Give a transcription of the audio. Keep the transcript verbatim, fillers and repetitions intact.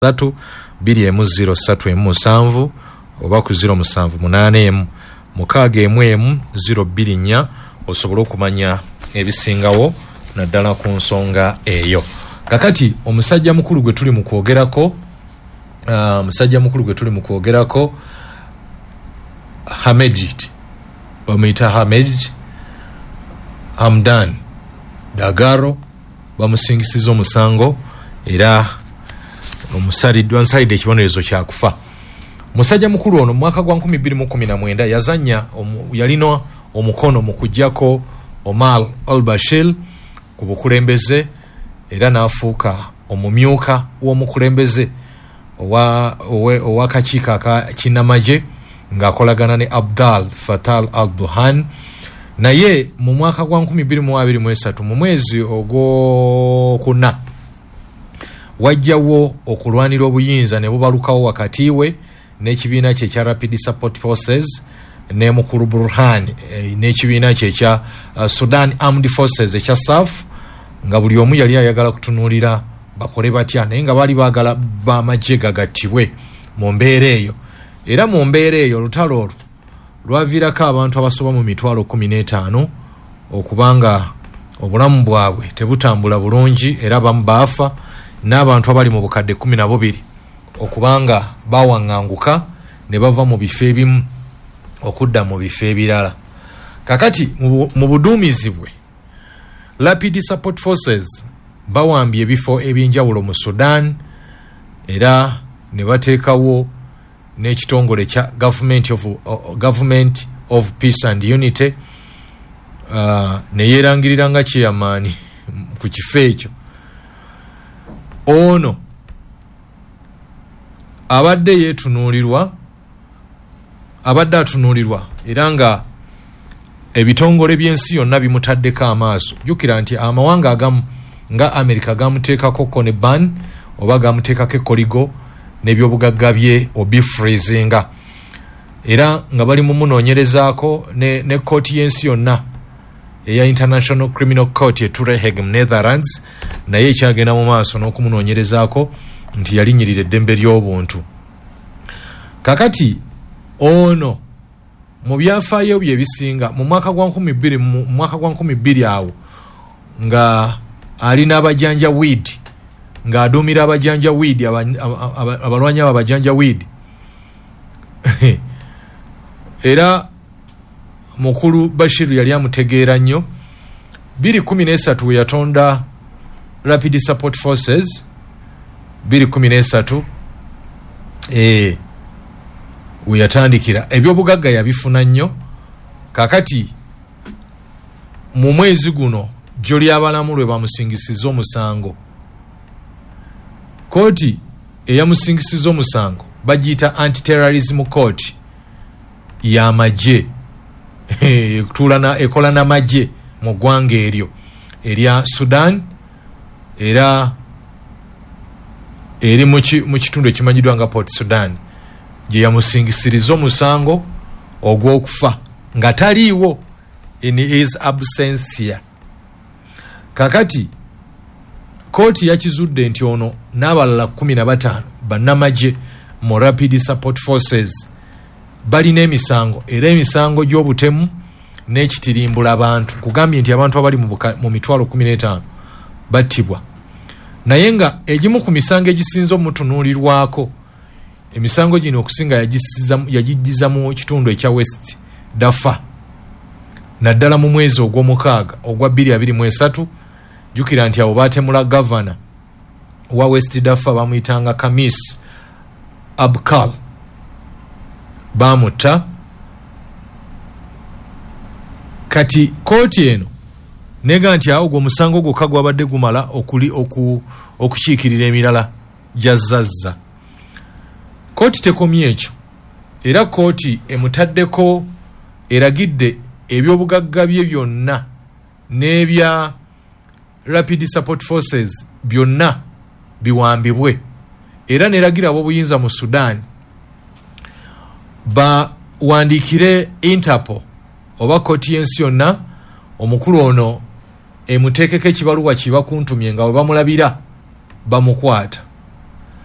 Ssatu bbiri emu zero ssatu emu musanvu oba ku zero musanvu munaana emu mukaaga emu emu zero bbiri nnya osobole okumanya ebisingawo naddala ku nsonga eyo. Kakati omusajja mukulu gwe tuli mu kwogerako, omusajja mukulu gwe tuli mu kwogerako Hamedit, bamuyita Hamedit Hamdan Dagalo, bamusingisiza omusango era omusaliddwa nsalidde ekibonerezo kyakufa. Musajja mukulu ono mu mwaka gwa nkumi bbiri mu kkumi na mwenda yazannya, yalina omukono mu kuggyako Omar al-Bashir ku bukulembeze era n'afuuka omumyuka w'omukulembeze ow'akakiiko aka kinnamagye ng'akolagana ne Abdel Fattah al-Burhan. Naye mu mwaka gwa nkumi bbiri mu abiri mu esatu mu mwezi ogwokuna wajjawo okulwanira obuyinza ne bubalukawo wakati we n'ekibiina kye ekya Rapid Support Forces ne mukulu Burhan n'ekibiina kye ekya Sudan Armed Forces ekya S A F, nga buli omu yali ayagala kutunuulira bakole batya, naye nga baali baagala bamagye gagattibwe mu mbeera eyo. Era mu mbeera eyo olutalo olwo lwaviirako abantu abasoba mu mitwalo kkumi n'etaano okubanga obulamu bwabwe tebutambula bulungi, era abamu baafa, n'abantu abali mu bukadde kkumi na bubiri okubanga bawaŋŋanguka ne bava mu bifo ebimu okudda mu bifo ebirala. Kakati mu buduumizi bwe Rapid Support Forces bawambye ebifo ebyenjawulo mu Sudan era ne bateekawo n'ekitongole kya Government of, uh, Government of Peace and Unity, uh, ne yeerangirira nga chairman ku kifo ekyo. Ono abadde yeetunuulirwa, abadde atunuulirwa era nga ebitongole by'ensi yonna bimutaddeko amaaso. Jjukira nti amawanga agamu nga Amerika gamuteekako ko ne ban oba gamuteekako ekkoligo n'ebyobugagga bye obifreezinga, era nga bali mu munoonyerezaako ne, ne kkooti y'ensi yonna eya International Criminal Court e Hague mu Netherlands, naye ekyagenda mu maaso n'okumunoonyerezaako nti yalinnyirira eddembe ly'obuntu. Kakati ono mu byafaayo bye ebisinga mu mwaka gwa nkumi bbiri mu mwaka gwa nkumi bbiri awo nga alina abajanja weed, ng'aduumira abajanja weed, abalwanyi abo abajanja weed era mukulu Bashir yali amutegeera nnyo. Bbiri kkumi n'esatu we yatonda Rapid Support Forces, bbiri kkumi n'esatu eh, we yatandikira ebyobugagga yabifuna nnyo. Kakati mu mwezi guno jjo ly'abalamu lwe bamusingisiza omusango, kooti eyamusingisiza omusango bagiyita Anti-Terrorism Court y'amagye, ekola n'amagye mu ggwanga eryo erya Sudan, era eri mu kitundu ekimanyiddwa nga Port Sudan, gye yamusingisiriza omusango ogw'okufa nga taliiwo, in his absentia. Kakati kooti yakizudde nti ono n'abalala kkumi na bataano bannamagye mu Rapid Support Forces balina emisango, era emisango gy'obutemu n'ekitirimbula abantu. Kugambye nti abantu abali mu mitwalo kkumi n'etaano battibwa, naye nga egimu ku misango egisinze omutunuulirwako, emisango gino okusinga yagiddiza mu kitundu ekya West Darfur, naddala mu mwezi ogw'omukaaga ogwa bbiri abiri mu esatu. Jjukira nti abo baatemula gavana wa West Darfur bamuyitanga Kamis Abkal, baamutta. Kati kooti eno nega nti awo gw'omusango gwokka gwabadde gumala okuli oku, okukiikirira emirala gyazzazza. Kooti tekomye ekyo, era kooti emutaddeko eragidde ebyobugagga bye byonna n'ebya Rapid Support Forces byonna biwambibwe, era n'eragira ab'obuyinza mu Sudan bawandiikire Interpol oba kooti y'ensi yonna omukulu ono emuteekeko ekibaluwa kibakuntumye nga bwe bamulabira bamukwata.